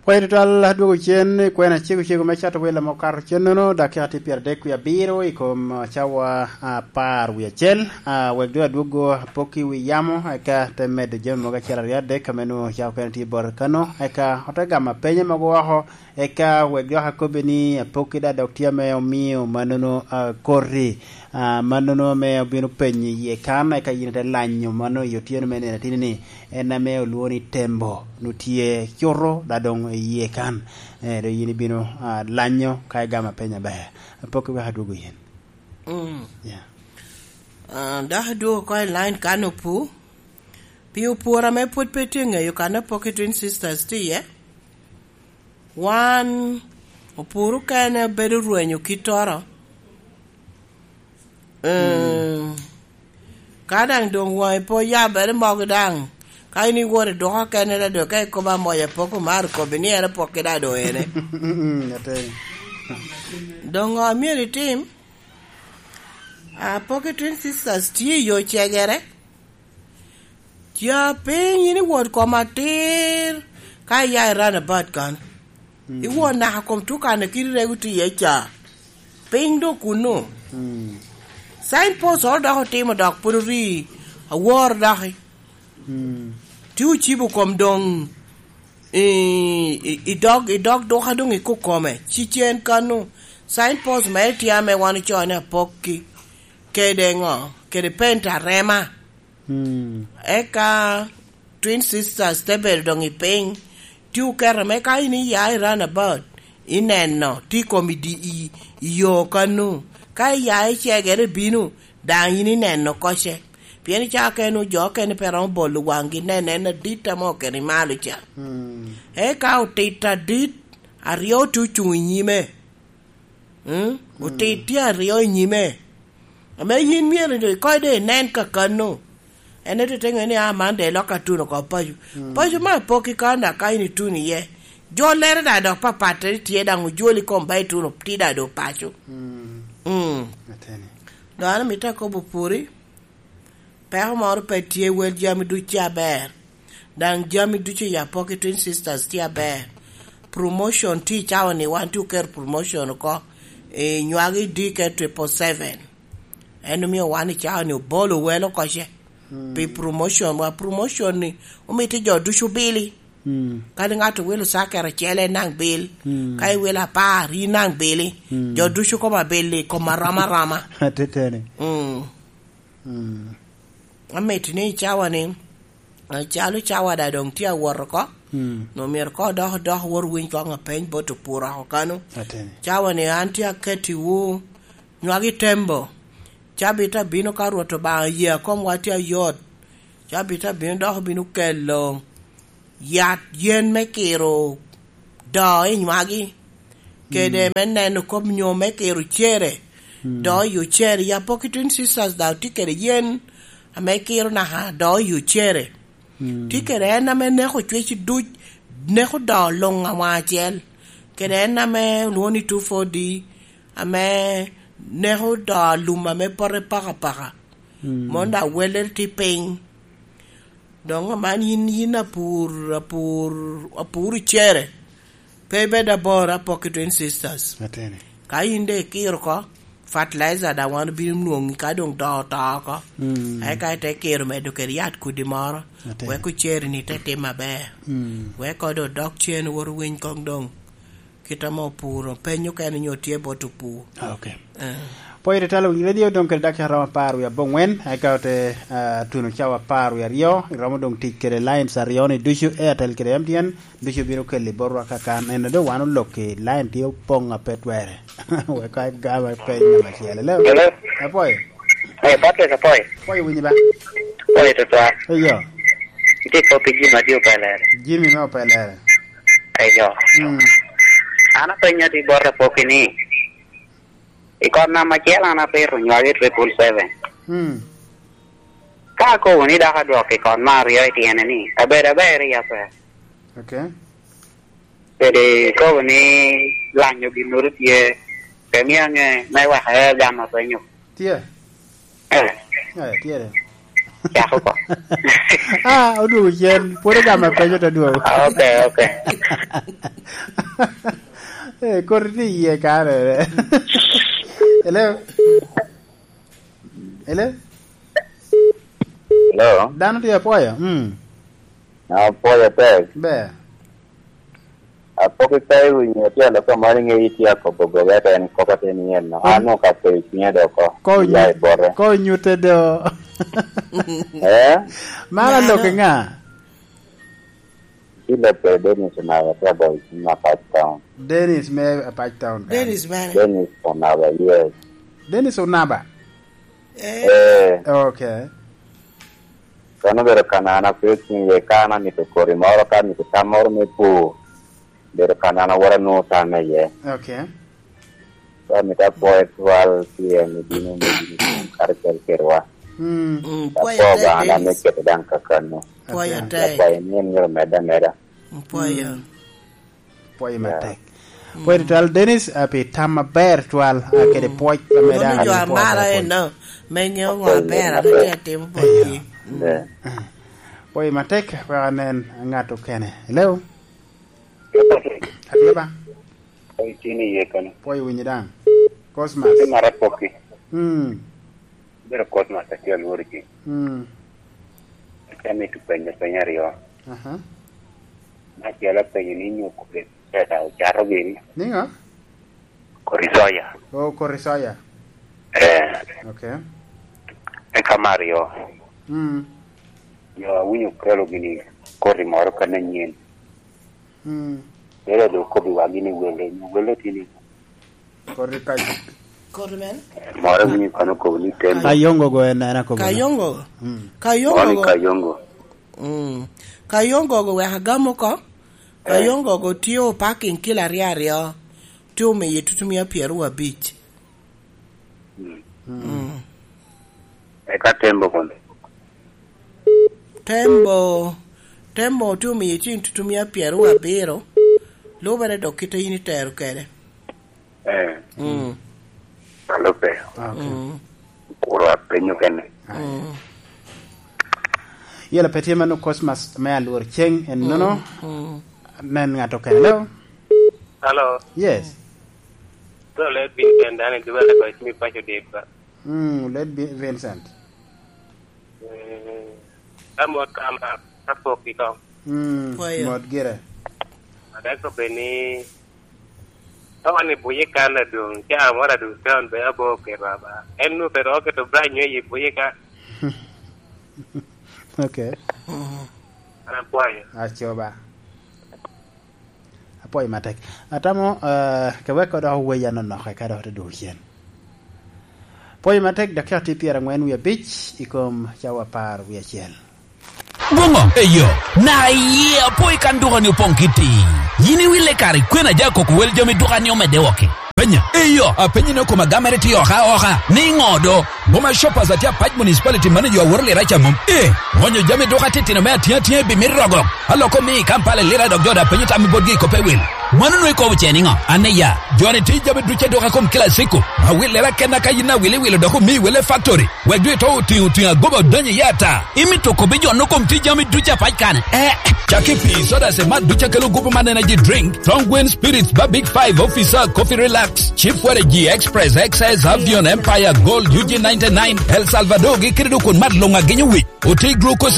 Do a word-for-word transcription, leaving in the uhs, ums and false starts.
Pwony tutwal, adwogo cen i kwena cego cego me cato wela ma okato cen-nono, dakika tye pyeradek wie abiro i kom, ah, cawa apar wie acel. Ah, wek doŋ adwogo apokki wi yamo, eka te medo jami mogo acel aryo adek ame nwoŋo cawa okene tye bot kano, eka ote gamo apenye mogo oko, eka wek dok akobbe ni apokki daŋ dok tye ame omio mannono, ah, koti, ah, mannono ame obino penyo iye kan, eka yin ite lanyo mano i otyeno me nino atini ni, en ame olwoŋo ni Tembo, nu tye cuto, da doŋ iye kan. Eh, doŋ yin ibino, ah, lanyo ka igamo apeny aber. Apokki wek adwogo yin. Mm. Yeah. Ah, dok adwogo oko i line kan opu. Pi opwora ame pwod pe tye ŋeyo kan Apokki Twin Sisters tye iye. Wan opworo kene bedo rwenyo kittoro. Eh, ka daŋ doŋ waŋi pe oyabere mogo daŋ, ka in iwot i duka kene, da doŋ ka ikobo amoya pok omaro kobbi ni en Apokki daŋ doŋ ene. Mm, ateni. Doŋ ŋo myero itim? Apokki Twin Sisters tye i yo cegere. Ca piny in iwot kom atir, ka iya i runabout kan. Mm. Iwot naka kom tukan a kiri rego tye iye ca. Piny doŋ kunnu. Mm. Signpost oro dok otimo dok pwod ori awor doki. Mm. Ti ocibo kom doŋ i, i, i dog, i dog duka doŋ i kukome. Ci cen kanu. Signpost me tye ame wan ocoo ni Apokki. Kede ŋo? Kede penta rema. Mm. Eka Twin Sisters te bedo doŋ i piny. Ti oketo me ka in iya i runabout, ineno, ti kom i di-, i, i yo kanu. Ka iya i cegere bino, daŋ in ineno koce. Pien i caa kene jo okene pe romo bolo waŋgi, neno en adit ame oketo i malo ca. Mm. Eka otit adit aryo te ocuŋ i nyime. Mm? Otit tye aryo i nyime. Ame yin myero doŋ ikoc doŋ inen kakano. En ete te ŋeo ni, "Ah, man doŋ elok atuno oko paco." Mm. Paco me Apokki kan daŋ ka in ituno iye. Jollere daŋ dok papatte tye daŋ ojoli kom ba ituno ti daŋ doŋ paco. Mm. Mm. Ateni. Doŋ an amito akobo pwori. Peko moro pe tye, wel jami ducu tye aber. Daŋ jami ducu i Apokki Twin Sisters tye aber. Promotion tye i cawa ni, wan tye oketo promotion oko. I nywagi D K triple seven. En omio wan i cawa ni obolo wel oko ce. Mm. Pi promotion, wa promotion ni omito jo ducu bili. Mm. Kadi ŋat owilo cakere acel, en naŋ bil. Mm. Ka iwilo apar, in naŋ bili. Mm. Jo ducu kom abili, kom arom aroma. Ateteni. Mm. Mm. Amito ni i cawa ni, eh, calo cawa daŋ doŋ tye awot oko, mm, no myero ko dok, dok wot winy koŋ apeny bot opur oko kano. Ateni. Cawa ni an tye akettiwu nywagi tembo. Cabit abino ka Rwot Obaŋa ye a komwa tye ayot. Cabit abino dok bino kelo yat yen me kiro doo i nywagi, kede, mm, me neno kop nyo me kiro cere, mm, doo i ocere. Ya Apokki Twin Sisters daŋ tye kede yen ame kiro naka doo i ocere. Mm. Tye kede en ame neko cwec duc, neko doo luŋ awaŋ acel. Kede en ame olwoŋo ni two four D, ame neko doo lum ame pote paka paka. Mm. Mon daŋ wellere tye piny. Doŋ aman yin, yin apur, apur, apur i cere. Pe ibed abor Apokki Twin Sisters. Atene. Ka yin de ikiro oko, fertilizer daŋ wan obino nwoŋi ka doŋ doo oto oko. Mm. Eka ite kiro medo kede yat kudi moro. Atene. Wek oceri-ni te tim maber. Mm. Wek kodo odok cen wot owiny koŋ doŋ. Kit ame opuro, penyo kene nyo tye bot opur. Ah, ok. Eh. Pwony tutwal, owinyo radio doŋ kede dakika romo apar wie aboŋwen, eka ote, ah, tuno cawa apar wie aryo, iromo doŋ tic kede lines aryo ni ducu, Airtel kede M T N, ducu bino keli botwa kakan. Eno doŋ wan olok i line tye opoŋ ape twere. Wek ka igama peny namba acel. Hello? Hello? Apwoyo. Eh, Patrick Apwoyo. Apwoyo winyi ba? Apwoyo tutwal. Eyo. Itye kop pi Jimmy Adi Opelere. Jimmy me Opelere. Eyo. Mm. An apenyo adi bot Apokki ni, i kot namba acel an apito nywagi triple seven. Mm. Ka akobo ni dok adwok i kot me aryo i tyene ni, abedo aber i ape. Ok. Kede kobo ni lanyo ginnoro tye, pe mio ange me wek aer gamo apenyo. Tye. Eh. Eh, tye de. Cak oko. Ah, odwogo cen. Pwod ogamo apenyo te dwogo. Ah, ok, ok. Eh, koti tye iye kare. Hello? Hello? Hello? Dano tye apwoyo? Mm. Apwoyo tek. Ber. Apok ikayo winyo tye aloko moro i ŋeyi tye akobo goba ete en koko te ni en no. An onwoŋo ka kweyo cwinya do oko. Ko Iya i bote. Ko nyute do. Eh? Mara Mano. Lok i ŋa? Tye lok kede Dennis Onaba tye aboyo cim Apac Town. Dennis me Apac Town. Dennis mene. Dennis Onaba, yes. Dennis Onaba? Eh. Eh. Okay. Kono obedo kanana, pe otiŋ iye ka an amito koti moro, ka amito tam moro me pur, obedo kanana wot anwoŋo tamme iye. Okay. Ka amito apwoyo twal pi en ibino me bino karacel kedwa. Mm. Mm, pwoyo Apwoyo tek, Obaŋa daŋ me Dennis. Kete daŋ kakano. Pwoyo Okay. Tek. Apwoyo ni en myero medde ameda. Mm, pwoyo. Mm. Pwoyo Yeah. matek. Pwoyo tutwal, Dennis, ah, pi tam aber twal, ah, kede pwoc ame Mano daŋ jo amito amara pwoyo. Eno, me ŋeo ŋo aber ame tye atimo botgi. Yeah. Mm. Yeah. Pwoyo matek, wek anen ŋat okene. Hello? Atye ba? Pwoyo tye ni iye kano. Pwoyo winyi daŋ. Cosmas. Tye mara pokki. Mm. Bedo Cosmas atye alworo ji. Mm. Atye amito penyo peny aryo. Aha. Me acel apenyo ni nyo kodi soya ocato gini? Niŋo? Kodi soya. Oh, kodi soya. Eh. Okay. Eka me aryo. Mm. Jo awinyo okelo gini koti moro kan anyen. Mm. Ere do kobbi wa gini wele, ni wele tye ni. Kodi ka Kodi men? Moro winyo kono kobo ni tembo. Kayongo go en, en akobo na. Kayongo? Mm. Kayongo Moro ni go. Kayongo. Mm. Kayongo go wek agam oko. Eh. Kayongo go tye o parking kilo aryo aryo. Tye omiye tutumia pyero abic. Mm. Mm. Eka tembo kono. Tembo, tembo tye omiye cen tutumia pyero abiro. Lubere dok kite in itero kede. Eh. Mm. Alo pe. Okay. Mm. Kuro apenyo kene. Mm. Yela pe tye mano Cosmas me alwor ceng en nono. Mm. Mm. Nen ŋat okene. Hello? Hello? Yes. So let Vincent dani duwa la ko ismi pacho dip ka. Mm, let Bi-, Vincent. Mm. Amo kama, apok i kom. Mm, Kwayo. Mot gire. Adako beni, ka wan i buye kan adwoŋ, ca moro adwoŋ town be abo oketo aba. En nu pe ro oketo branch nyo i buye ka. Okay. Mm. An akwayo. Acoba. Apwoyo matek. Atamo, eh, ke wek odoko weya nonok eka dok te dwogo cen. Pwoyo matek, dakika tye pyerangwen wie abic i kom cawa apar wie acel. Boŋo? Eyo, na iye apwoyo kan duka ni opoŋ kitti. Yin iwille kare kwena ja koko wel jami duka ni omedde oke. Penya. Eyo, apenyi ni okoma gamere tye oka oka. Ni ŋo do? Boma Shoppers atye Apac Municipality manager aworo lira ca mom. Eh, onyo jami duka titino me atiŋ atiŋ ebi mit rogo. Aloko mi i Kampala lira dok jo da penyo tam i botgi i kope wil. Mano nwe kobo ce niŋo? Ane ya, joni ti jami duce duka kom kila siko. Awil lira kenna ka yin awil iwilo dok omi wele factory. Wek dwe to otiŋo otiŋo agoba odonyo i ata. Imito kobi jo no kom ti jami duce Apac kane. Eh, caki pi soda se mat duce kelo gupu man energy drink. Strong Wind Spirits ba Big Five Officer Coffee Relax. Chief Waragi Express X S Avion Empire Gold U G ninety-nine El Salvador gi kede dukun mat luŋ agenyo wic. Oti glucose